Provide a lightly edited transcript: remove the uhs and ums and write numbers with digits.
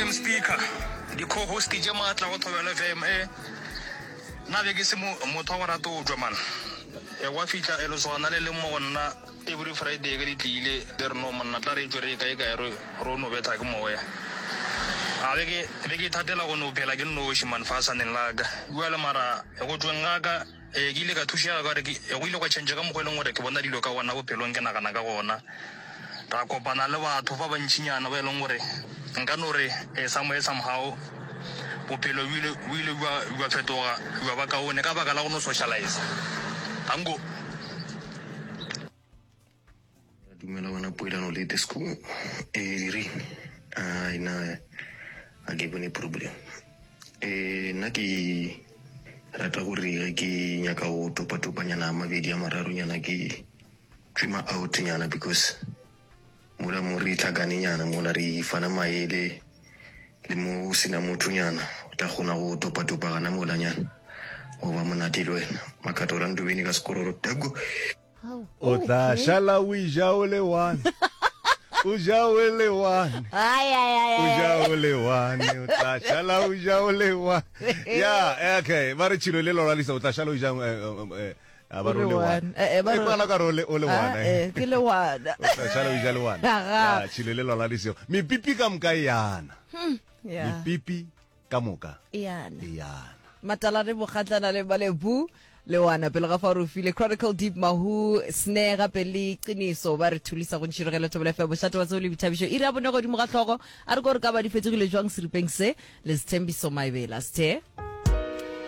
Madam Speaker, di-co-host tše maatla go Thobela FM. Eh, nna be ke se motho wa go rata go tšwa man. E gwa fihla e lesogana le leng mo go nna every Friday ge di tlile le re no monna tla re tšwe re ye kae kae re ro no betha ke moya. A be ke be ke ithatela go no phela ke nnoši man fasaneng la ka. Bjale mara go tšweng ga ka Ee, ke ile ka thušega ka gore ke, go ile gwa tšhentšha ka mokgwa e leng gore ke bona dilo ka gona bophelong, ke nagana ka gona. Ra kopana le batho ba bantšinyana ba e leng gore nka no re eh, somewhere somehow bophelo bo ile bo ile bja bja fetoga bja ba kaone ka baka la go no socialize. Tango. Dumela wena poelano le disco e direng ai na a ke bone problem e nna ke rata gore ge ke nyaka go topatopanyana mabedi a mararonyana ke tšwema out nyana because mola mo re tlhakanenyana mola re fana maele le mo o sena mothonyana o tla kgona go topatopa gana molanyana go ba monate le wena makhato rantobene ka sekororo tako O tla šala o ja o le one. O ja o le one. Ai, ai, ai, O ai, ja ai. o le one. O tla šala o ja o le one. Ya, okay. Ba re tšhilo le lora lisa o tla šala o ja eh, eh, eh, a ba O re o le le one. one. Eh, eh, ba E re- kwala ka re o le o le Ah, one. eh. eh, ke le one. O tla šala o ja le one. Aga. Ya, tšhilo le lora lisa. Mepipi ka moka e yana. Yeah. Mepipi ka moka E yana. e yana. Matalane Bogatlana le Malebu Lewana pele ga fa re file Chronicle Deep Mahu Snare gape le Qiniso ba re thulisa go ntšhirogelo Thobela FM mošate wa tsebo le boithabišo iri ya bone godimo ga hlogo a re ko re ka ba di fetogile jwang seripeng se le Sthembiso Maebela Sthe.